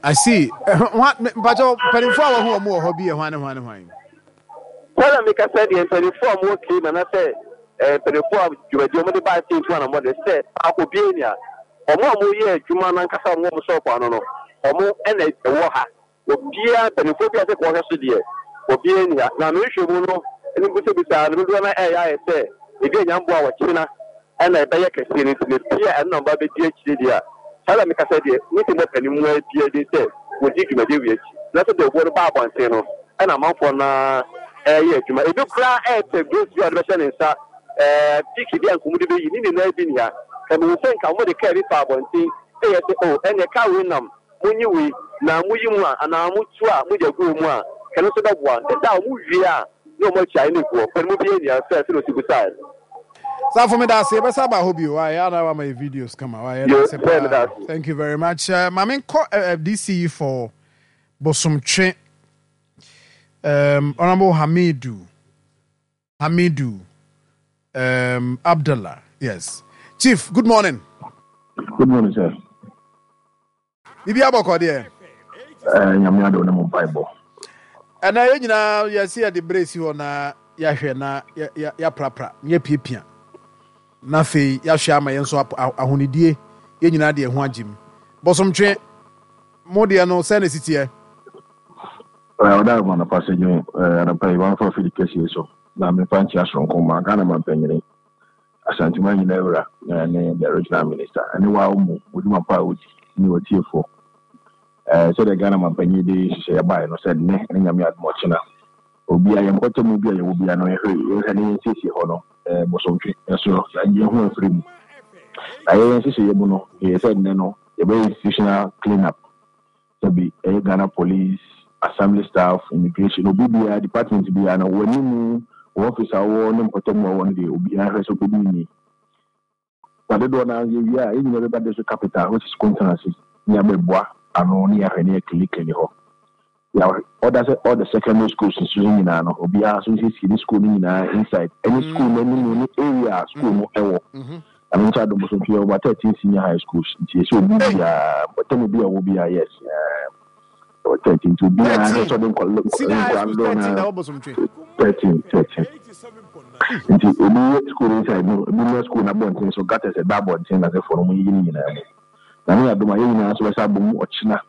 I see. Mpakyɛw, mpanimfoɔ a wɔho wɔn wɔ hɔ bi yɛ hwan ne hwan ne hwan? Sɛdeɛ meka sɛ deɛ mpanimfoɔ a wɔwɔ Kane anaasɛ mpanimfoɔ a dwumadie wɔde baa sɛ ntu anammɔ de sɛ baako biara ni a, wɔn a wɔyɛ adwuma no ankasa a wɔwɔ wɔn sɔɔpo ano no, wɔn na ɛwɔ ha. Obiara, mpanimfoɔ bi a sɛ wɔhwɛ so deɛ, obiara nni ha. Na me nhwɛmu no ne bisabisaa no dodoɔ no ara ɛreyɛ ayɛ sɛ ebi anya mmoa a ɔkyena na ɛbɛyɛ kɛseɛ no nti no, ebia ɛno na wɔba abɛdi akyire deɛ a, saa na mekasa deɛ, me sɛ mɔpɛ no mua biara din sɛ wɔdi dwumadie wei akyi. Na sɛ dawubɔ no ba abɔnten no, ɛna amanfoɔ no ara ɛreyɛ adwuma. Ebi koraa ɛrepɛ gloves bi a wɔde bɛhyɛ ne nsa, ɛɛ piiki bi a nka wɔde bɛyi, ne nyinaa bi nni ha. Ka mehu sɛ nka wɔde kaa bi fa abɔnten ɛyɛ sɛ oh ɛnneɛ kaa wei nam Monyi wei, na moyi mu a, anaa motu a, mogya gu wɔ mu a, ɛno nso bɛboa. Nti sɛ wɔwie a, na wɔn akyi ayɛ no agu hɔ. Kwan mu biara nni ha sɛ sɛdeɛ ɔsi bisaeɛ no. Safo meda ase yɛbɛsa aba hɔ bio why ana wama yɛ videos kama why yɛda ase paa thank you very much uh, ma menkɔ uh, eh, DC for Bosomtwe Honorable Hamidu Hamidu Abdallah yes Chief good morning. Good morning sir. Biribi abɔkɔ deɛ. Eh, nyame adom ne mo mpaebɔ. Ɛnɛ yɛn nyinaa yɛsi yɛde berɛ si hɔ na yɛahwɛ na yɛaprapra na yɛapiapia na afei yɛahwɛ ama yɛn nso ahonidie yɛn nyinaa de ɛho agye mu. Bosomtwe mo deɛ no sɛ na ɛsi teɛ? Ɔda ma anɔpa sɛ dwon anɔpa yi mamfa afidi kɛseɛ so na memfa nkyea soronko ma Ghana mampanyini Asanteman nyinaa wura ne the regional minister ne waa mu odwuma pa a odi ne watiefoɔ. Sɛdeɛ Ghana mampanyin de nhyehyɛeɛ baeɛ no sɛ nnɛ ne Nyame adom ɔkyena obia yɛn mpɔtamu bi a yɛwɔ bia no yɛhwɛ yɛhwɛ ne yɛnsiesie hɔ no bosomtwe ɛso yɛagye yɛn ho afiri mu. Na yɛn nhyehyɛeɛ mu no yɛyɛ sɛ nnɛ no yɛbɛyɛ institutional clean up sɛbi ɛyɛ Ghana police, assembly staff, immigration, obi biara department biara no w'anim wɔ office a wowɔ ne mpɔtam a wowɔ no deɛ obiara hwɛ sɛ wobɛdi ni. Na dodoɔ no ara yɛwie a yɛn nyinaa bɛba district capital which is Kuntanase ne abɛboa ano ne yɛahwɛ ne yɛkilikili hɔ. Yɛ order sɛ all the secondary schools nso so nyinaa no obiara nso nsiesie ne school no nyinaa inside ɛne school no anim ne area a school no ɛwɔ. Ɛno nso adom so nti yɛwɔ about 13 senior high schools nti yɛsɛ obi biara mpɔtam bi a ɛwɔ biara yes ɛwɔ 13 nti obiara sɛ ɔde nkwadaa dodoɔ no 13 13 nti ebi yɛ school inside no ebi mmra school no abɔnten so gutters ɛda abɔnten na sɛfoɔ no wɔn yiyi ne nyinaa mu na ne adom a yɛn nyinaa nso bɛsa abom ɔkyena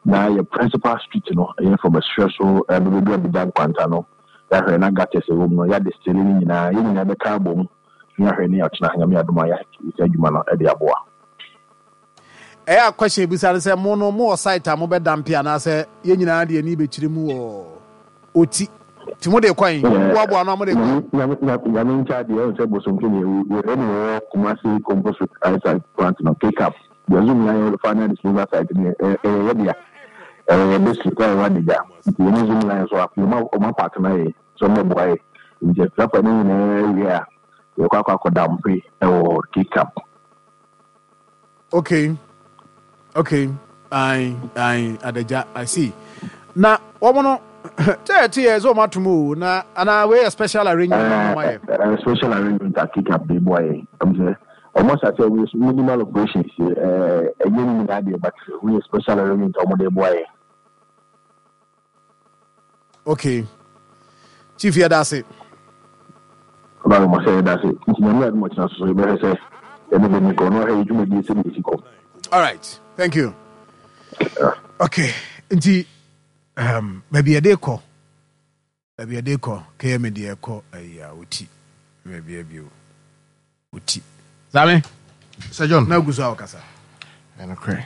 na yɛ principal street no ɛyɛ from ɛserɛ so ɛbɛbɛdu abigya nkwanta no yɛahwɛ na gutters ɛwɔ mu no yɛade stele ne nyinaa yɛn nyinaa bɛka abom na yɛahwɛ ne ɔkyena Nyame adom a yɛayɛ saa adwuma no de aboa. Ɛyɛ a question ebisa no sɛ mo no mo wɔ site a mo bɛ dampe anaasɛ yɛn nyinaa de ani bɛkyerɛ mu wɔ oti nti mo de kɔ he mo boaboa ano a mo de kɔ he. Nyame nkyɛ adeɛ ɛwɔ sɛ bosomtwe deɛ wei ne wɔwɔ Kumasi compost site plant no K-cap deɛ zoom line final disposal site no ɛyɛ yɛ dea ɛwɔ yɛ district a ɛwɔ Adagya nti yɛne zoom line so afei ɔma partner yɛ sɛ ɔmmɛboa yɛ. Nti akuafo no nyinaa wie a, yɛkɔ akɔ akɔda mpe wɔ Cape Camp. Okay, okay, ae, ae, Adagya, I see. Na wɔn no, sɛ ɛte yɛ sɛ wɔn atom o, na anaa wei yɛ special arrangement na wɔn ayɛ. Uh, special arrangement a Cape Camp de boa yɛ. Ɛm sɛ wɔn asase a wɔyɛ minimal operations, ɛnyɛ ne nyinaa deɛ, but wɔyɛ special arrangement a wɔn de boa yɛ. Okay. Chief yɛda ase. Ɔba mo sɛ yɛda ase. Nti nyame adom ɔkyena so so yɛbɛhwɛ sɛ yɛne bɛni kɔ na ɔhwɛ yɛ dwumadie sɛ deɛ ɛsi kɔ. All right. Thank you. Okay. Nti baabi yɛde kɔ. Baabi yɛde kɔ kɛyɛ me deɛ ɛkɔ ayi a oti baabi abi o oti same Sir John na gu so a wɔkasa ɛnokorɛ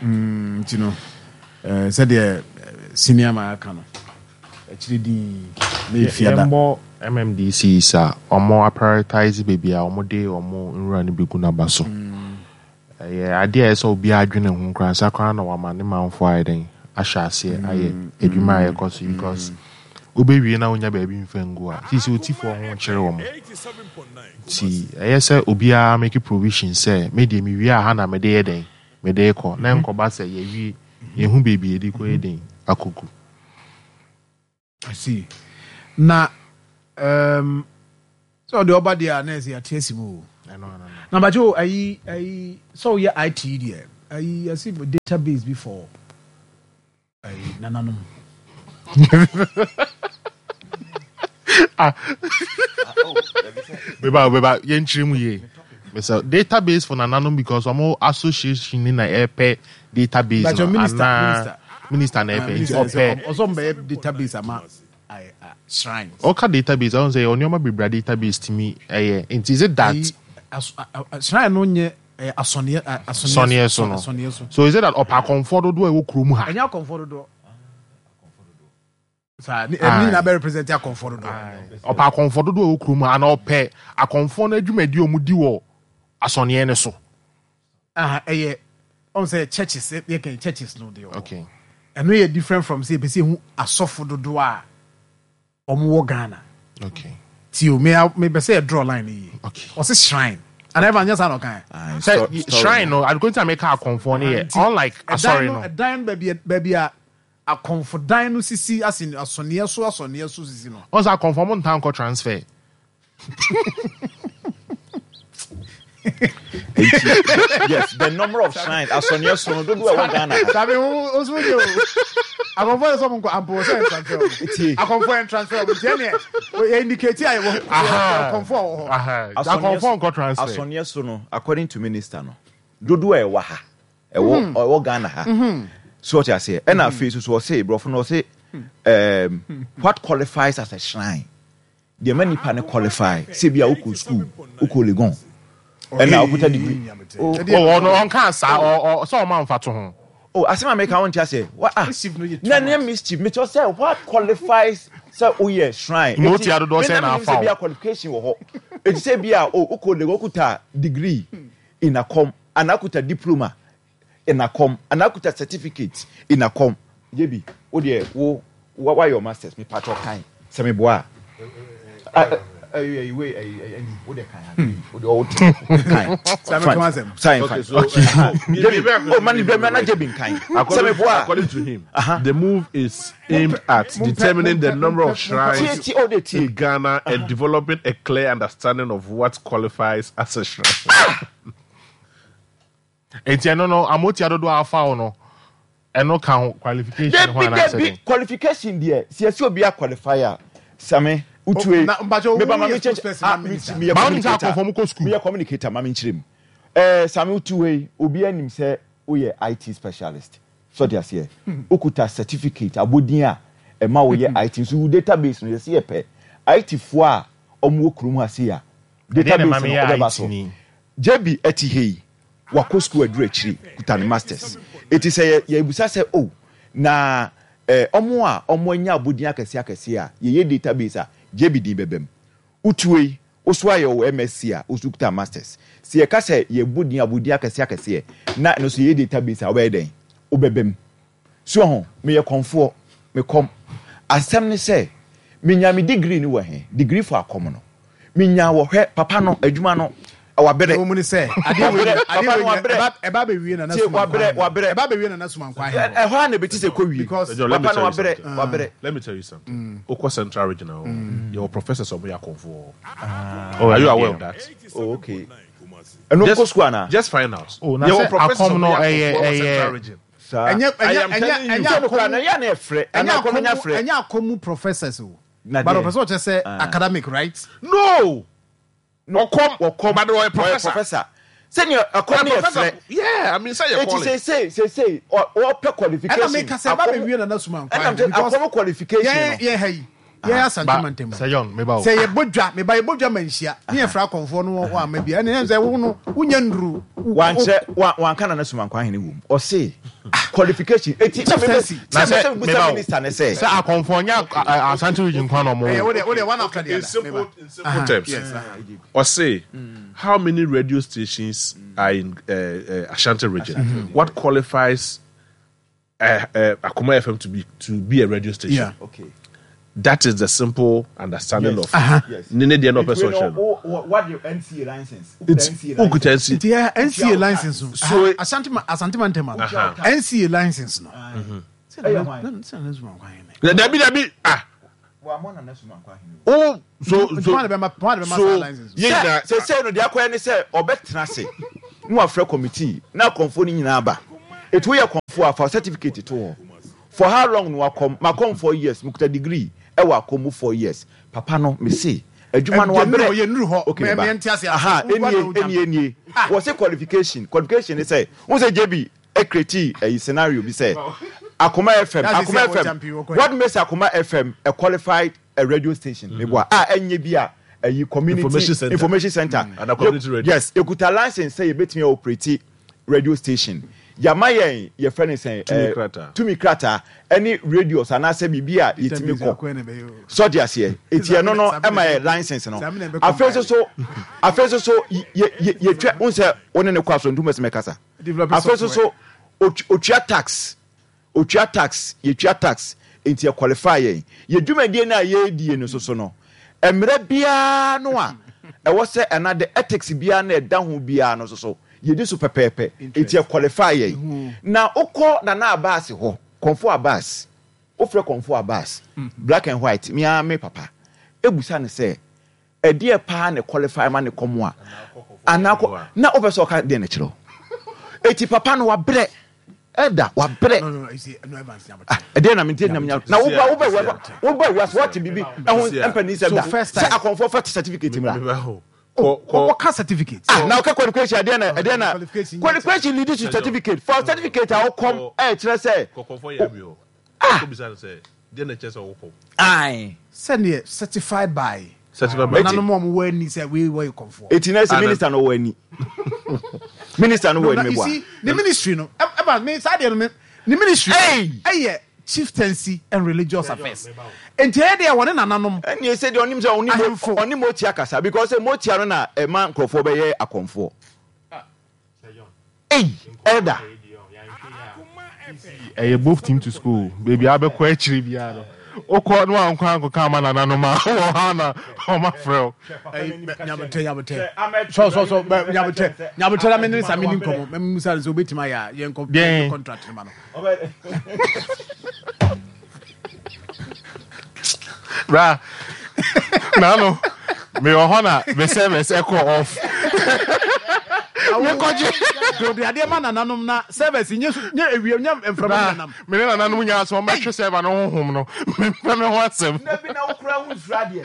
nti no sɛdeɛ senior man aka no akyire din na ɛfiada yɛmmɔ MMDCs a wɔn aprioritise baabi a wɔde wɔn nwura no bɛgu no aba so. Ɛyɛ adeɛ a ɛsɛ sɛ obiara dwene ho koraa ansa koraa na wama ne manfoɔ ayɛ dɛn ahyɛ aseɛ ayɛ adwuma a ɛkɔ so because wobɛwie na wonya baabi mfa ngu a sisi otifoɔ ho kyerɛ wɔn nti ɛyɛ sɛ obiara make provision sɛ me deɛ mewie a ha na mede yɛ dɛn mede kɔ na nkɔba sɛ yɛwie yɛhu baabi yɛde kɔ yɛ dɛn akɔgu. I see. Na um, sɛ ɔde ɔba deɛ a na ɛsɛ yɛate asi mu o. Na bakyɛ o ayi ayi sɛ woyɛ IT deɛ ayi yɛse database bi for. Nananom. Ah. Beba beba yɛnkyerɛ mu yie. Mesɛ database for nananom because ɔmo association ni na ɛpɛ database no anaa minister na ɛpɛ nti ɔpɛ. Ɔsɔ mbɛyɛ database ama shrines. Ɔka database ɔn sɛ ɔnneɛma bebree a database tumi ɛyɛ nti is it that. Shrine no nyɛ Ɛyɛ asɔneɛ a asɔneɛ Sɔneɛ so no. asɔneɛ so. So is it that ɔpɛ akɔmfoɔ dodoɔ a ɛwɔ kurom ha? Ɛnyɛ akɔmfoɔ dodoɔ. Saa ne ɛne Aye. nyinaa bɛ represent akɔmfoɔ dodoɔ. Ɔpɛ akɔmfoɔ dodoɔ a ɛwɔ kurom ha anaa ɔpɛ akɔmfoɔ no adwumadi a wɔdi wɔ asɔneɛ no so? Aha ɛyɛ ɔn sɛ churches yɛ kɛn churches no deɛ wɔ hɔ. Okay. Ɛno yɛ different from sɛ yɛpɛ sɛ yɛhu asɔfo dodoɔ a Ɔmo wɔ Ghana. Okay. Ti o, me me pɛ sɛ yɛ draw line no yie. Okay. Ɔse shrine. Ana ɛfa nyɛ saa na ɔka ɛ? Sɛ shrine no, adekoro nti a meka akɔnfoɔ no yɛ unlike asɔre no. Ɛdan no baabi baabi a akɔnfo dan no sisi ase asɔneɛ so asɔneɛ so sisi no. Ɔn sɛ akɔnfo ɔmo ntaa nkɔ transfer. Enti, yes, the number of shrines, asɔneɛ so no, dodoɔ a ɛwɔ Ghana ha. Sabi wo wo so deɛ o. Akɔnfo yɛ sɛ ɔmo nkɔ ampo sɛ yɛn transfer ɔmo. Tie. Akɔnfo yɛn transfer ɔmo nti ɛneɛ yɛ indicate a yɛwɔ akɔnfo a wɔ hɔ. Akɔnfo nkɔ transfer. Asɔneɛ so no, according to minister no, dodoɔ a ɛwɔ ha, ɛwɔ ɛwɔ Ghana ha. So ɔte aseɛ. Ɛna afei so so ɔse, borɔfo no ɔse, um, what qualifies as a shrine? Deɛ ɛma nipa no qualify sɛ bi a wokɔ school, wokɔ Legon, ɛna wokuta degree. Oh, ɔno ɔnka saa, ɔ sɛ ɔma nfa to ho. Oh, asɛm a meka wonte aseɛ. Wa ah, na ne mischief, mekyerɛ sɛ what qualifies sɛ woyɛ shrine. Ma otua dodoɔ sɛn na afa wo. Sɛ bi a qualification wɔ hɔ. Eti sɛ bi a oh, wokɔ Legon, wokuta degree in akɔm, anaa wokuta diploma in akɔm anaa kuta certificate in akɔm yɛ bi wo deɛ wo wayɛ wo masters me patrɔ kan sɛ me boa a ɛyi wei ɛyi ɛyi wo deɛ kan wo deɛ ɔwɔ te kan fine sign fine jebi oh mani bɛ mɛ na jebi nkan sɛ me boa according to him the move is aimed at determining the number of shrines in Ghana and developing a clear understanding of what qualifies as a shrine. Enti ɛno no amotia dodoɔ a afa wo no ɛno ka ho qualification ho anaasɛ Dabi dɛn? qualification deɛ sɛ yɛsɛ obi a qualify a Same wotue Na mpakyɛ meba ma woyɛ menkyerɛ spokesperson ah ma minister. meyɛ Ba wonim sɛ communicator akɔmfoɔ mokɔ school. meyɛ communicator ma menkyerɛ mu ɛɛ Same wotu hɔ yi obi anim sɛ woyɛ IT specialist so ɔte aseɛ wokuta certificate abodin a ɛma woyɛ IT nso wo database no yɛsɛ yɛpɛ IT foɔ a wɔn wɔ kurom ha sei a Ɛdeɛn na ɛma database no meyɛ wobɛba IT so ni? JB ɛte ha yi, wakɔ sukuu aduru akyiri, kuta ne masters. Eti sɛ yɛ yɛbisa sɛ oh, na eh, ɔmo a ɔmo anya abodin akɛseɛ akɛseɛ a, yɛyɛ database a, JB din bɛba mu. Wotuo yi, wo so ayɛ wo MSc a, wo so kuta masters. Sɛ yɛka sɛ yɛbɔ din abodin akɛseɛ akɛseɛ, na ɛno nso yɛyɛ database a, wobɛyɛ dɛn? Wobɛba mu. So wahu? Meyɛ kɔmfoɔ. Me kɔm. Asɛm ne sɛ, menyaa me degree no wɔ he? Degree for akɔm no. Menyaa wɔ, hwɛ, papa no, adwuma no, wabrɛ. Ɛwɔ mu ne sɛ, adeɛ wei Wabrɛ, nyina, adeɛ papa wei no nyina, wabrɛ. ɛba, ɛba abɛwie Nana Tie, Suma wabrɛ, Nkwahe. wabrɛ. Ɛba abɛwie Nana Suma Nkwahe hɔ. Ɛhɔ ara na ɛbɛti sɛ ɛkɔ wie. Because. John, let me Papa no tell you wabrɛ, something. wabrɛ. Let me tell you something. Wokɔ Central Region a, yɛwɔ professors a wɔyɛ akɔmfoɔ wɔ hɔ. Oh, Are you ɛno aware deɛ. of that? Oh, okay. Ɛno Just, nkɔ sukuu anaa? just find out. Oh, na Yɛwɔ sɛ professors a akɔm no wɔyɛ ɛyɛ akɔmfoɔ wɔ Central ɛyɛ Region. Saa. Ɛnyɛ, I ɛnyɛ, am ɛnyɛ, telling you. ɛnyɛ Sɛ no koraa akɔm, na ɛyɛ a na ɛfrɛ, ɛnyɛ anaa akɔm akɔm, nya frɛ. ɛnyɛ akɔm mu professors o. Na But deɛ. ɔpɛ sɛ ɔkyerɛ sɛ academic, right? No! No, Ɔkɔm, wɔkɔm, but ɔyɛ ɔyɛ professor. professor. Sɛnea ɛkɔm Ɔyɛ no yɛ professor. frɛ. Yeah, I mean, sɛ yɛ Eti calling. seesei, seesei, ɔ- ɔpɛ Ɛna qualification. meka sɛ ɛba Akɔm, abɛwie Nana Suma ɛna Nkwahe mte because akɔm qualification yɛn, no. yɛn ha yi, yɛn Asante Ba mantam mu. sɛ John meba o. Sɛ yɛbɔ dwa, meba yɛbɔ dwa ma nhyia, ne yɛfrɛ akɔmfoɔ no wɔ ama bi a, ɛne sɛ wo no, wonya nnuru. Wankyerɛ, wa, wanka Nana Suma Nkwahe no wom. Ɔse qualification. Eti na mebe, Chieftaincy. Na na sɛ mese mebusa meba o. minister ne sɛ. Sɛ akɔmfoɔ nyɛ Asante region nko ara na ɔmo Ɛyɛ wɔ. wo deɛ, wo deɛ one after the In other. simple, Meba. in simple terms, Yes. ɔse, how many radio stations are in Ashanti region? What qualifies Akoma FM to be a radio station? Yeah. Okay. That is the simple understanding Yes. of Yes. ne ne deɛ na ɔpɛ Nti sɛ wei no, ɔkyerɛ no. wo- wo- what the NCA license? Wokuta Nti NCA wokuta license. NC. Nti yɛ NCA license no. So- Asante ma Asante mantam ano. Aha. NCA license no. Sɛ Ɛyɛ na hwan? na sɛ na Suma Nkwahe ne. Dabi dabi ah Wammɔ Nana Suma Nkwahe no. oh so Nti so hwan na bɛma hwan na bɛma saa so license no? yɛn Sɛ nyinaa seesei no deɛ akɔyɛ ne sɛ ɔbɛtena ase na wafrɛ committee na akɔmfoɔ no nyinaa aba. Eti woyɛ kɔmfoɔ a fa wo certificate to hɔ. For how long na wakɔm? Makɔm 4 years, mekuta degree ɛwɔ akɔm mu 4 years. Papa no, mese adwuma no Yɛnnuru wabrɛ. hɔ, yɛnnuru hɔ. Okay, meba. Yɛnte ase ase. Aha, Wo- wo- enie, wo- enie, enie. Wɔse qualification. Qualification ne sɛ, wo sɛ JB ecreate ɛyi scenario bi sɛ Akoma FM, That's Akoma the FM. champion, wɔkɔ yɛ. What makes Akoma FM a qualified a radio station? Meboa. A ɛnyɛ bi a ɛyi community Information center. information center. And a community radio. Yes, ekuta license sɛ yɛbɛtumi operate radio station. Yama yɛn yɛfrɛ ne sɛn Tumi krataa. Tumi krataa ɛne radios anaasɛ biribi a yɛtumi kɔ sɔde aseɛ eti ɛno no ɛma yɛ license no. Afei nso so, afei nso so yɛ yɛ yɛtwa n sɛ wo ne ne kɔ aso ntum ɛsɛ mɛkasa. Develop Afei nso software. so otua tax, otua tax, yɛtua tax nti yɛ qualify yɛn yɛ dwumadie no a yɛredie no soso no, mmerɛ biara no a ɛwɔ sɛ ɛna de ethics biara na ɛda ho biara no soso yɛdi so pɛpɛɛpɛ nti yɛ qualify yɛn. Na wokɔ Nana Abbas hɔ, Kɔnfo Abbas, wofrɛ Kɔnfo Abbas black and white, mea me papa ebusa ne sɛ ɛdeɛ paa na qualify ma ne kɔm a anaa kɔ na wopɛ sɛ ɔka deɛ no kyerɛ wo. Eti papa no wabrɛ ɛda wabrɛ. No, no, no, you see, no, Evans, Nyabotɛ. Ah, ɛdeɛ na mente nam nya na woba woba woba woba wiase wate biribi ɛho mpani sɛ da So first sɛ time- akɔmfoɔ fa certificate mmra. Kɔ kɔ Wɔka certificate. Ah, na ɔka qualification ɛdeɛ na ɛdeɛ na Qualification nyɛ qualification lead to certificate for certificate a wokɔm ɛkyerɛ sɛ kɔkɔfɔ yɛ mi o. Kɔ bisa no sɛ deɛ na kyerɛ sɛ wokɔ. Ae. Sɛdeɛ certified by Certified by. nananom a wɔwɔ ani sɛ wei wɔyɛ kɔmfoɔ. Eti na sɛ minister no wɔ ani, minister no wɔ No, ani you meboa. see, ne ministry no, ɛba me saa deɛ no, me ne ministry no Hey! ɛyɛ chieftaincy and religious affairs. Nti ɛyɛ deɛ wɔne nananom. Ɛnni sɛ deɛ ɔnim sɛ ɔne mo Ahemfo. ɔne motia kasa because sɛ motia no na ɛma nkurɔfoɔ bɛyɛ akɔmfoɔ. Ei, elder. Ɛyɛ both team to school baabi a bɛkɔ akyire biara no, wokɔ na wankɔ ankɔka ama nananom a wɔ ha na ɔma frɛ wo. Ɛyi, Nyabotɛ, nyabotɛ. Sɔ, sɔ, sɔ, bɛ, nyabotɛ. Nyabotɛ na me ne Sami ni nkɔmɔ. Mɛ musa no sɛ obetumi ayɛ a, yɛnkɔ Deɛn? yɛnkɔ contract no ma no. Bra nano mewɔ hɔ na me service ɛkɔ off, mekɔgye. Dode adeɛ ma nananom na service nye nye ewie nye mframa Bra nanam. Me ne nananom nyinaa sɛ ɔmɛhwɛ server no honhom no, mempɛ me ho asɛm. Na bi na wokura ho nsura adeɛ.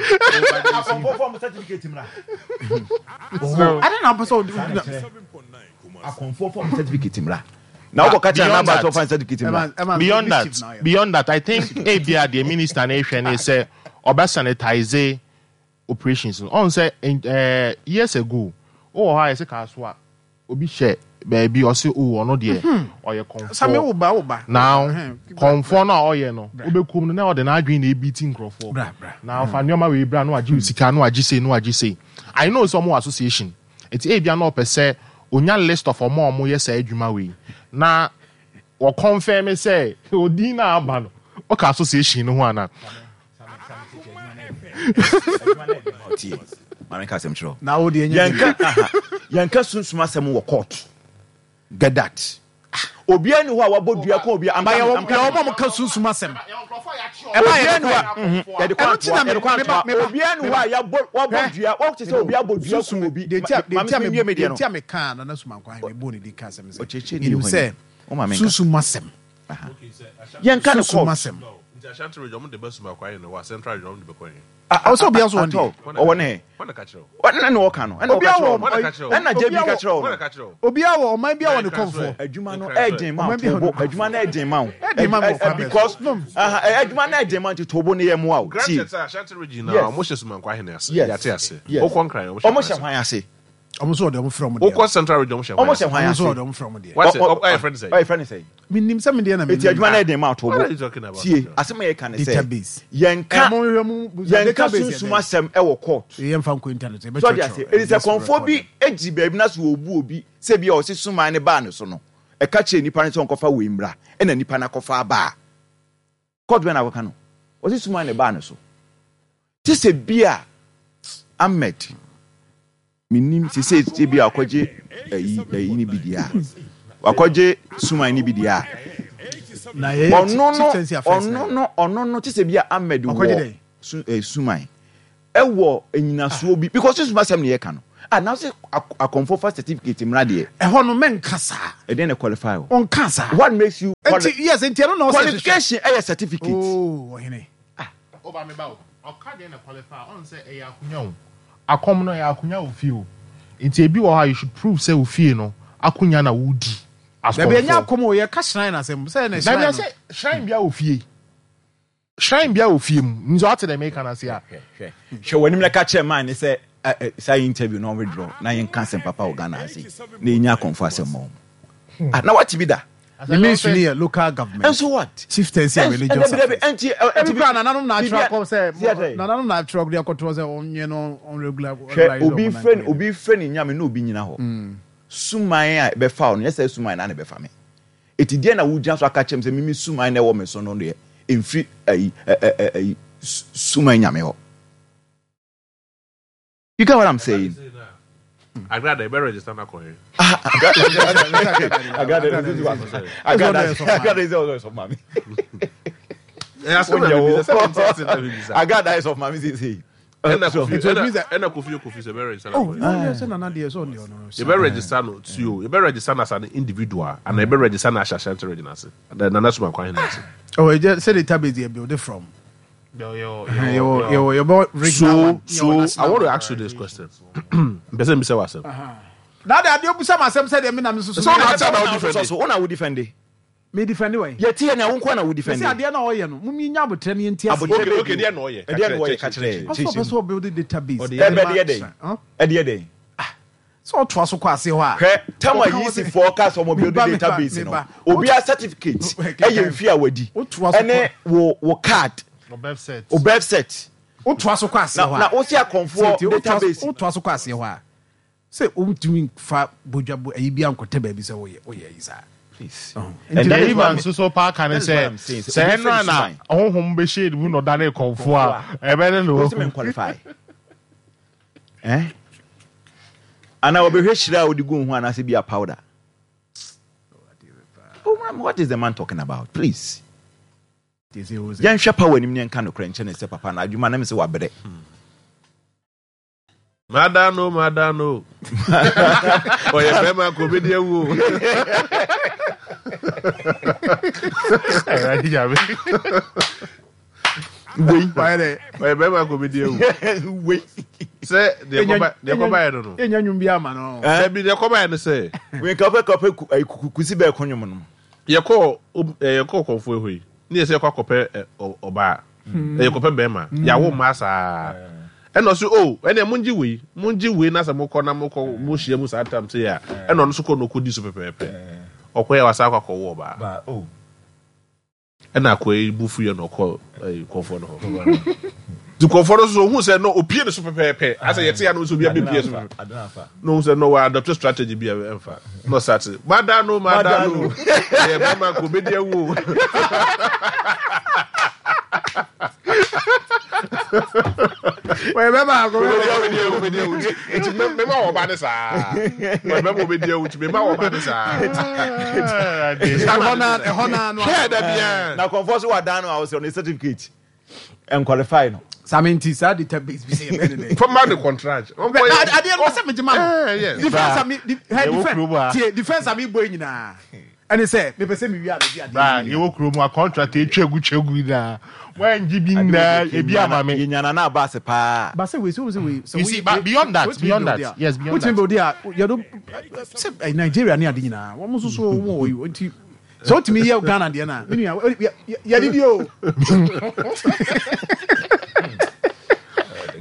Akɔmfoɔ fɔ mo certificate mmra. Ade na wopɛ sɛ wode Akɔmfoɔ fɔ mo certificate mmra. Na wokɔ ka kyerɛ Beyond Nana that. sɛ ɔfa certificate mmra. Beyond that, beyond that, I think ebia deɛ minister no ehwɛ ne sɛ ɔbɛ sanitize operations no. Ɔn sɛ years ago wowɔ hɔ a yɛsɛ kaa so a obi hyɛ baabi ɔsɛ o ɔno deɛ ɔyɛ Sami kɔnfoɔ. wo ba, wo ba. Now kɔnfoɔ no a ɔyɛ no, wobɛkum no na ɔde n'adwene na ebi ti nkurɔfoɔ Bra, bra. na ɔfa nneɛma wei bra na wagye wo sika na wagye sei na wagye sei. I know sɛ ɔmo wɔ association, eti ebia na ɔpɛ sɛ onya list of ɔmo a ɔmo yɛ saa adwuma wei na wɔconfirm sɛ odin na aba no ɔka association no ho ana. Tie, maame ka asɛm kyerɛ wo. Na wo deɛ nyɛ Yɛnka aha, yɛnka sunsum asɛm wɔ court. Get that. Obiara ni hɔ a wabɔ dua kɔ obiara. Ba yɛwɔ yɛwɔ mo a mo ka sunsum asɛm. Ɛba yɛ Obiara ni hɔ a yɛde kɔ Ɛno ti antoa, na yɛde kɔ meba antoa. meba. Obiara ni hɔ a yɛabɔ wabɔ dua, wɔte sɛ obi abɔ dua kum obi. Deɛ nti a deɛ Maame nti a mi nwie mi deɛ deɛ no. nti a meka Nana Sumankwa ahene bɔ ne din ka asɛm sɛ Ɔkyerɛkyerɛ ni yɛnim hɔ sɛ ni. Wo maame nka. sunsum asɛm. Yɛnka ne Sunsum court. asɛm. Nti Ashanti region ɔmo de bɛ Sumankwa ahene wɔ Central region ɔmo de bɛ kɔ yɛn. Ɔwɔ sɛ obiara so wɔn Atɔ, deɛ. ɔwɔ ne he? Wɔn na ka kyerɛ wo. Ɛna na ɔka no. Ɛna ɔka Obiara kyerɛ wɔ wo no. Ɛna JB ka kyerɛ wo Wɔn na no. ka kyerɛ wo. Obiara wɔ ɔman biara wɔ ne kɔnfoɔ. Adwuma no ɛɛden ma Ɔman bi a tobo. ɔno- Adwuma no ɛɛden ma wo. Ɛɛden ma me wɔ kwan bɛn so? Because No. aha, adwuma no ɛɛden ma nti tobo no yɛ mmoa wo. Tie. Granted sɛ Ashanti region na Yes. ɔmo hyɛ Sumankwa ahene ase. Yes. Yɛate ase. Yes. Wokɔ Nkran ɔmo Ɔmo hyɛ hyɛ hwan hwan ase? Ɔmo nso wɔde ɔmo frɛ ɔmo deɛ. Wokɔ Central region ɔmo hyɛ Ɔmo hwan hyɛ ase? hwan Ɔmo ase? nso wɔde ɔmo frɛ ɔmo deɛ. Wate, Ɔ- ɔ- ɔyɛ friend sɛ? Ɔyɛ friend sɛ? Menim sɛ me deɛ na menim. Eti adwuma no ɛɛden ma wo What are you tobo. talking about? Tie, asɛm a yɛka ne sɛ Database. yɛnka Ɛ, mo nhwɛ mo yɛnka database yɛ sunsum dɛn? asɛm ɛwɔ court. Yɛmfa nkɔ internet. So ɔde ase. Eti sɛ kɔnfoɔ bi egyi baabi na so obu obi sɛ bi a ɔsi suman ne baa ne so no, ɛka kyerɛ nipa no sɛ ɔnkɔfa wei mmra, ɛna nipa no akɔfa aba a, court bɛn na akɔka no? Ɔsi suman ne baa ne so. Te sɛ bi a Ahmed menim sese sɛ bi a wakɔgye ayi ayi ne bi deɛ a, wakɔgye suman ne bi deɛ a, Na yɛyɛ ɔno no chieftaincy affairs na ɔno no ɔno no te sɛ bi a Ahmed Ɔkɔgye wɔ dɛn? su suman ɛwɔ enyinasoɔ bi because sunsum asɛm ne yɛka no. Ah, na sɛ akɔmfo fa certificate mmra deɛ. Ɛhɔ no mɛnka saa. Ɛdeɛn na qualify wo? Ɔnka saa. What makes you quali Nti yes, nti ɛno na ɔsɛ hwehwɛ. Qualification ɛyɛ certificate. Oh, ɔhene. Ah. Oba me ba o, ɔka deɛn na qualify a, ɔn sɛ ɛyɛ akonya o. Akɔm no ɛyɛ akonya wɔ fie o. Nti ebi wɔ hɔ a you should prove sɛ wo fie no akonya na wodi as Dabi ɛnyɛ kɔmfoɔ. akɔm o, yɛka shrine asɛm, sɛ ɛna shrine Dabi no. ɛsɛ shrine biara wɔ fie. Shrine biara wɔ fie mu. Nti wate deɛ meka no ase a. Hwɛ, hwɛ, hwɛ w'anim na ka kyerɛ man no sɛ ɛ, ɛ, saa interview no withdraw na yɛnka asɛm papa wɔ Ghana ha sei na yɛnya akɔmfo asɛm ma wɔn. Ah, na wate bi da? Ne ministry no yɛ local government. And so what? Chieftaincy and religious affairs. Ɛnti, ɛnti, Ebi koraa nananom na atwerɛ akɔ sɛ nananom na atwerɛ de akɔtoɔ sɛ ɔnyɛ no on regular. Hwɛ, obi frɛ obi frɛ ne nyame na obi nyina hɔ. Suman a ɛbɛfa wo no, nyɛ sɛ suman na na ɛbɛfa me. Eti deɛ na wogyina so aka kyerɛ me sɛ mimi suman na ɛwɔ me so no deɛ ɛmfiri ayi ɛ ɛ ɛ suman nyame hɔ. You get what I'm saying? Agrada, ebe register na kɔ he. Agrada, Agrada is also of mami. Agrada is of mami say say. Ɛna kofi ɛna kofi kofi sɛ ebe register na kɔ he. Ebe register no tio, ebe register na as an individual, and ebe register na ahyɛ Ashanti region ase. Nana Suma kwan he ase. Oh, sɛ database yɛ build from. So so I want to ask you this question. Mpɛ sɛ mbisa w'asɛm. Na de adeɛ obusa ma asɛm sɛ deɛ mi na mi soso. Sɛ ɔna ati na o defend. So ɔna wo defend. Mi defend wɛ. Yɛ ti yɛ na wo nko na wo defend. Sɛ adeɛ na ɔyɛ no, mo mi nya abotire ni nti ase. Okay okay deɛ na ɔyɛ. Deɛ na ɔyɛ kakyerɛ. Ɔsɔ ɔpɛ sɛ ɔbuild database. Ɛbɛ deɛ dɛ. Ɛdeɛ dɛ. Sɛ ɔtoa so kɔ ase hɔ a. Hwɛ, tam a Yeasyfoɔ kaa sɛ wɔn build database no, obiara certificate ɛyɛ mfe a wadi, ɛne wo wo card, wo birth cert. Wotoa so kɔ aseɛ hɔ a. Na wosi akɔnfoɔ database. Wotoa so kɔ aseɛ hɔ a, sɛ wontumi nfa bodwa bo ayi bi ankɔtɛ baabi sɛ woyɛ woyɛ ayi saa. Please. And that is what nso so paa ka ne sɛ sɛ ɛno a na honhom bɛhyɛ ne mu na ɔdane kɔnfoɔ a ɛbɛne no. Wosɛ qualify. Eh? Ana wɔbɛhwɛ hyira a wode gu ho anaasɛ bi a powder. Oh, what is the man talking about? Please. Yɛnhwɛ power anim ne yɛnka nokorɛ nkyɛ ne sɛ papa na adwuma na me sɛ wabrɛ. Mada no, mada no. Ɔyɛ bɛrima kò obi di ewu. Wei. Ɔyɛ bɛrima kò obi di ewu. Wei. Sɛ deɛ kɔba deɛ kɔba yɛ no no. Enya nwom bi ama no. Dabi deɛ kɔba yɛ no sɛ. Wei nka wopɛ kɔpɛ kusi bɛɛ ko nwom no. Yɛkɔ yɛkɔ kɔnfo ehɔ yi ne yɛ sɛ yɛkɔ akɔpɛ ɔbaa yɛkɔpɛ bɛrima yɛawo mmaa saa ɛna ɔso o oh, ɛnna mo ngye wei mo ngye wei na sɛ mokɔ na mokɔ mo hyia mu saa tam sɛ yɛ a ɛna ɔno nso kɔ na ɔkɔdi so pɛpɛɛpɛ ɔkɔ yɛ wasa akɔ akɔwo ɔbaa oh. Ɛna akoa yi bu fuiɛ na ɔkɔ ɛyi kɔnfoɔ no hɔ. Nti kɔnfoɔ no nso ohun sɛ no opie ne so pɛpɛɛpɛ asɛ yɛte ya no nso obi abɛpie so na ohun sɛ no wa adopt strategy bi a ɛmfa na ɔsate mada no mada no ɛyɛ bɛrima ko obedi awu o. Wɔyɛ bɛrima ko obedi awu obedi awu nti mema wɔ ba ne saa wɔyɛ bɛrima obedi awu nti mema wɔ ba ne saa. Ɛhɔ na ɛhɔ na no. Hwɛ da bia. Na kɔnfɔ so wadan no a ɔsɛ ɔne certificate ɛnqualify no. Sami nti saa database bi sɛ yɛbɛ ne dɛ. Fama de contract. Adeɛ no sɛ megye ma no. Defense a mi defense tie defense a mi bɔ yi nyinaa ɛne sɛ mepɛ sɛ mewie a megye adeɛ. Bra yɛwɔ kurom a contract etwa gu twa gu nyinaa wɔangye bi nyinaa ebi ama me. Yɛnya nana abaase paa. Ba sɛ wei sɛ wei sɛ You see, but beyond that, beyond that, yes, beyond that. Wotumi build a yɛdo sɛ Nigeria ne ade nyinaa wɔn nso so wɔn wɔ yi nti sɛ wotumi yɛ Ghana deɛ na me nua yɛde di o.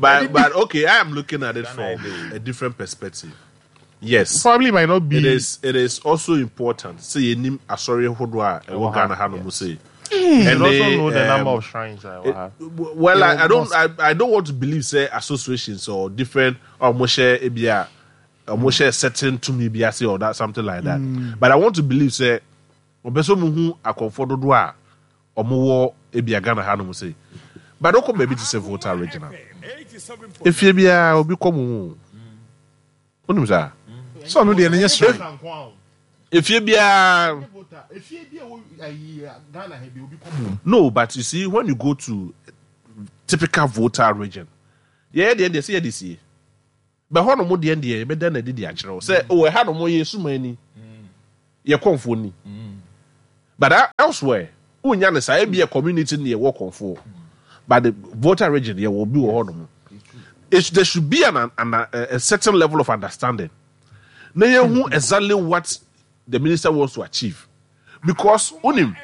But okay, I am looking at it from a different perspective. Yes. Probably might not be. It is also important. Sɛ yɛnim asɔre hodoɔ a ɛwɔ Ghana ha nom sei. You should also know the number of shrines a ɛwɔ ha. Well, I don't want to believe sɛ associations or different ɔmo hyɛ ebi a ɔmo hyɛ certain tumi bi ase or that something like that. But I want to believe sɛ ɔpɛ sɛ ɔmo hu akɔnfoɔ dodoɔ a ɔmo wɔ ebi a Ghana ha nom sei. But ɔkɔ baabi te sɛ Volta Regional. Efie biara obi kɔ mo mu. Wonim saa? Sɛ ɔno deɛ no nyɛ shrine. Efie biara. No, but you see, when you go to typical Volta region, yɛyɛ deɛ deɛ sɛ yɛde sie. Bɛ hɔ nom deɛ deɛ yɛbɛda no adi de akyerɛ wo sɛ oh ɛha nom yɛ suman ni, yɛ kɔmfoɔ ni. But elsewhere wonnya no saa, ebia community no yɛwɔ kɔmfoɔ but the Volta region yɛwɔ obi wɔ hɔ nom. It, there should be an, an, a, a certain level of understanding na yɛhu exactly what the minister wants to achieve because wonim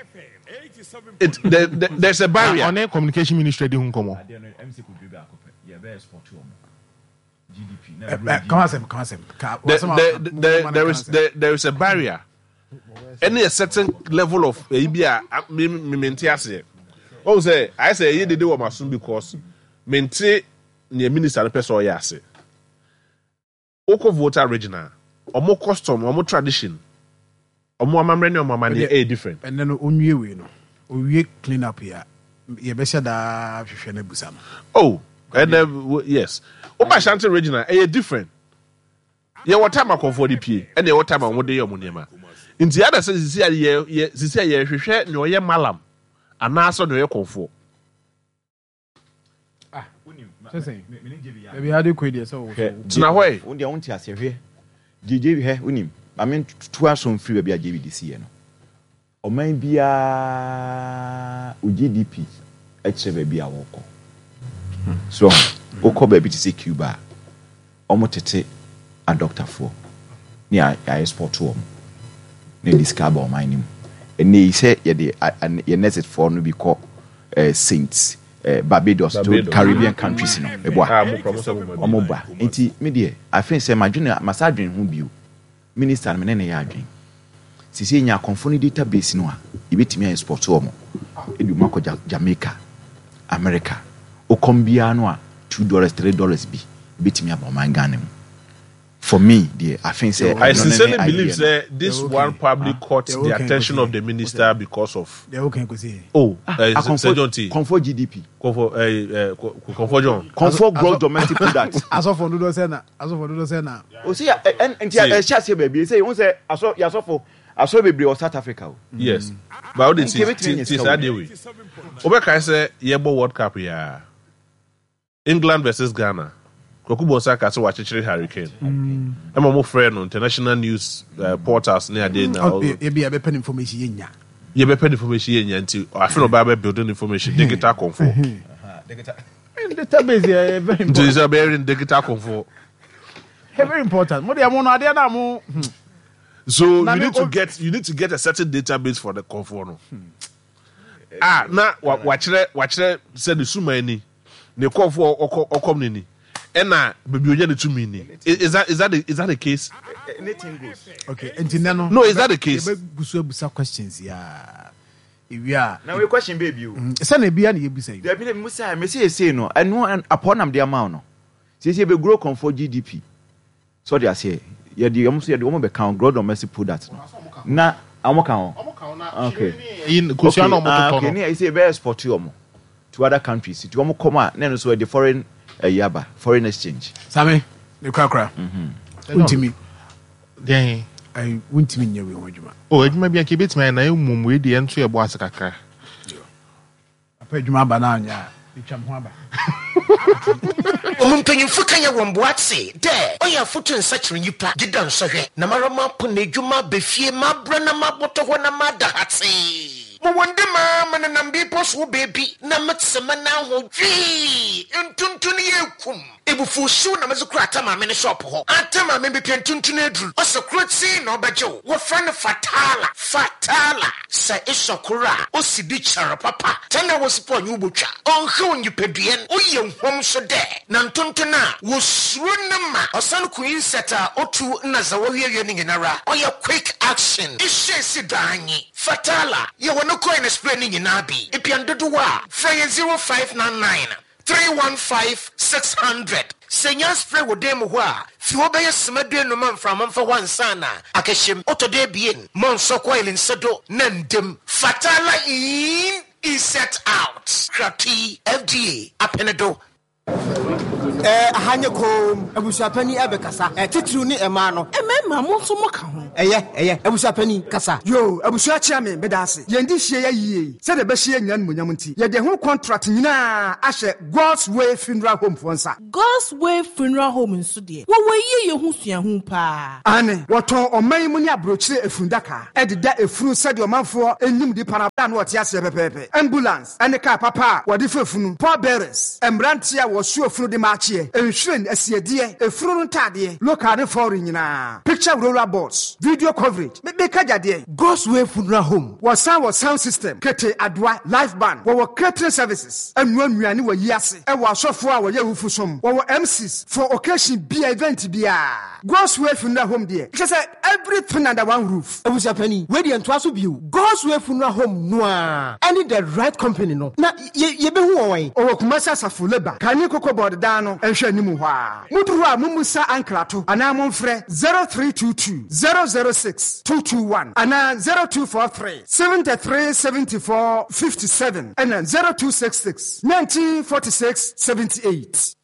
it, there, there, there's a barrier. Ɔne communication ministry di ho nkɔmmɔ. There, is there, there is a barrier ɛne a certain level of ɛyi bi a me me mente aseɛ ɔn sɛ ayɛ sɛ ɛyɛ dede wɔ m'asom because mente nea minister no pɛ sɛ ɔyɛ ase wokɔ Volta region a ɔmo custom ɔmo tradition Ɔmo amammerɛ ne ɔmo amanneɛ ɛyɛ different. Ɛnɛ no onwie wei no owie clean up yi a yɛbɛhyɛ daa ahwehwɛ no abusa no. Oh ɛnɛ yes woba Ashanti region a ɛyɛ different yɛwɔ time akɔnfoɔ de pie ɛna yɛwɔ time a wɔn de yɛ wɔn nneɛma nti ada sɛ sisi a yɛ yɛ sisi a yɛhwehwɛ nea ɔyɛ malam anaasɛ nea ɔyɛ kɔnfoɔ. Ah, baabi ade kɔ deɛ sɛ wo tena hɔ ɛ. Wo deɛ wonte aseɛ hwɛ JJ hwɛ wonim ma me nto aso mfiri baabi a JB de siiɛ no ɔman biara wo GDP kyerɛ baabi a wɔkɔ so wokɔ baabi te sɛ Cuba a Wɔtete adɔktafoɔ ne a yɛaɛspɔto wɔn na yɛde sika aba ɔman no mu. Ɛnnɛ yi sɛ yɛde yɛn nɛɛsefoɔ no bi kɔ Saint Barbados to Caribbean countries no, meboa? Wɔn ba. Nti me deɛ, I think sɛ madwene, masa adwene ho bio. Minister no me ne no yɛ adwene. Seesei yɛnya akɔmfoɔ no data base no a, yɛbɛtumi a export wɔn de wɔn akɔ Jamaica, America. Wokɔm biara no a, $2, $3 bi bɛtumi aba ɔman Ghana mu. For me deɛ, I think sɛ I ɛno ne sincerely ne believe idea no. sɛ this one probably caught the attention of the minister because of oh Ah, eh, Sir akɔmfoɔ John T. kɔmfoɔ GDP. Kɔmfoɔ eh, eh, Kɔmfoɔ John. Kɔmfoɔ gross domestic product. Asɔfo dodoɔ sɛ na asɔfo dodoɔ sɛ na. O se ya ɛ nti ɛhyɛ aseɛ baabi sɛ ohun sɛ asɔ yasɔfo asɔre bebree wɔ South Africa o. Yes, but o de Nti ti ebetumi ti anya ti sika saa wɔ deɛ mu. wei. Wobɛkae sɛ yɛbɔ World Cup yi a England versus Ghana. Kwaku Bonsah kaa sɛ wakyekyere Harry Kane. Ɛma wɔn frɛɛ no international news eh, portals ne adeɛ na Ɔ- Ebi a yɛbɛpɛ no information yɛnnya. yɛbɛpɛ no information yɛnya nti afe na ɔbaa bɛ building information digital kɔnfoɔ. Database yɛ very Nti important. sɛ ɔbɛyɛ no digital kɔnfoɔ. Very important. Mo deɛ mo no adeɛ no a mo. So Na you me need to o- get you need to get a certain database for the kɔnfoɔ no. A na wa wakyerɛ wakyerɛ sɛ ne suman ni, ne kɔnfoɔ ɔkɔ ɔkɔm ne ni, ɛna baabi onya ne tumi ni. Is that is that the, is that the case? Anything goes. Okay, nti nɛ no. No, is that the case? Yɛbɛgu so abusa questions yaa. Ewie a. Na wei question bɛɛ bio. Sɛ na ebia na yɛbusa yi. Dabi na musa me sɛ yɛsei no ɛno apɔ nam de ama wo no. Siesie bɛ grow kɔnfoɔ GDP. So ɔde aseɛ yɛde wɔn nso yɛde wɔn bɛka ho gross domestic product no na wɔn ka ho okay kosua na okay wɔn ah totɔ okay no. ne yɛ bɛ export wɔn to other countries nti wɔn kɔm a na ɛno nso ɛde foreign ɛyi aba foreign exchange. Sami ne korakora wontumi Deɛn? ayi wontumi nyɛ wei ho adwuma. Oh, adwuma bi anka ebetumi ayɛ na mmom wei deɛ ɛnto yɛ bo ase kakra. Papa adwuma aba na anyɛ a, metwa me ho aba. Ɔmo mpanyimfo ka yɛ wɔn boa tse dɛ ɔyɛ afotu nsakyer nyimpa gyedɛ nsɔhwɛ na mara mapon edwuma aba fie mabrɛ na mabɔtɔ hɔ na mada hatsee. Mowɔ ndɛ maa menenam bepɔ so wɔ beebi na metse me nan ho hwii ntonton yɛ kum. Ebufuwhyew na medze kɔr Atta Maame ne shop hɔ. Atta Maame mepɛ ntuntun edur. Ɔse kortsee na ɔbɛgye wo. Wɔfrɛ no Fatala. Fatala. Sɛ esɔ kor a, osi do kyɛr papa. 10 hours mpo a ɔnye wo botwa. Ɔnnhaw nyimpadua no. Ɔyɛ huam so dɛ na ntonton a wosuro no ma ɔsan ku insect a otu na dza wɔweawea no nyinara. Ɔyɛ quick action. Ehyɛ esi do ara nye. Fatala. Yɛwɔ no coil na spray no nyinaa bi. Epɛ no dodow a, frɛ hɛn 0599. 315 600. Sɛ nya spray wɔ dan mu hɔ a, fi hɔ bɛyɛ sima duenum ma mframa mfa hɔ ansaana akɛhyɛ mu. Ɔtɔ do ebien, ma ɔnsɔ coil nsa do na nda mu. Fatala in, insert out. Kratoe, FDA apene do. Ɛɛ, aha nyɛ komm. Abusuapanin ɛbɛkasa. Ɛɛ, titiriw ne mmaa no. Mmarima, mo nso moka ho. Ɛyɛ, ɛyɛ. Abusuapanin, kasa. Yoo, abusua kyea me, meda ase. Yɛn de hyia yɛ yie yi, sɛdeɛ ɛbɛhyɛ yɛn nyinaa animuonyam nti, yɛde ɛho contract nyinaa ahyɛ God's Way Funeral Home foɔ nsa. God's Way Funeral Home nso deɛ, wɔwɔ yieyɛ ho suahu paa. Aane, wɔtɔn ɔman yi mu ne aburokyire efundaka de da efunu sɛdeɛ ɔmanfoɔ nim nipa no berɛ a na ɔte aseɛ pɛpɛɛpɛ. Ambulance ne kaa papa a wɔde fa efunu, pallbearers, mmeranteɛ a wɔsoa efunu de ma akyeɛ, nhwiren, asiedeɛ, efunu no ntaadeɛ, local ne foreign nyinaa, picture roller boards, video coverage, me meka gya deɛn? God's Way Funeral Home. Wɔsan wɔ sound system, kete, adoa, live band, wɔwɔ catering services, ɛnoa nnuane wɔ yi ase, ɛwɔ asɔfoɔ a wɔyɛ awufo som, wɔwɔ MCs for occasion bia, event biara. God's Way Funeral Home deɛ, kyerɛ sɛ everything under one roof. Abusuapanin, wei deɛ ntoa so bio. God's Way Funeral Home no ara ɛne The Right Company no, na yɛ yɛbɛhu wɔn wɛn? Ɔwɔ Kumasi Asafo Labour, Kane Cocoa Board dan no nhwɛ anim hɔ ara. Moduru hɔ a mommusa ankrato anaa momfrɛ 0322 006 221 anaa 0243 73 74 57 ɛna 0266 19 46 78.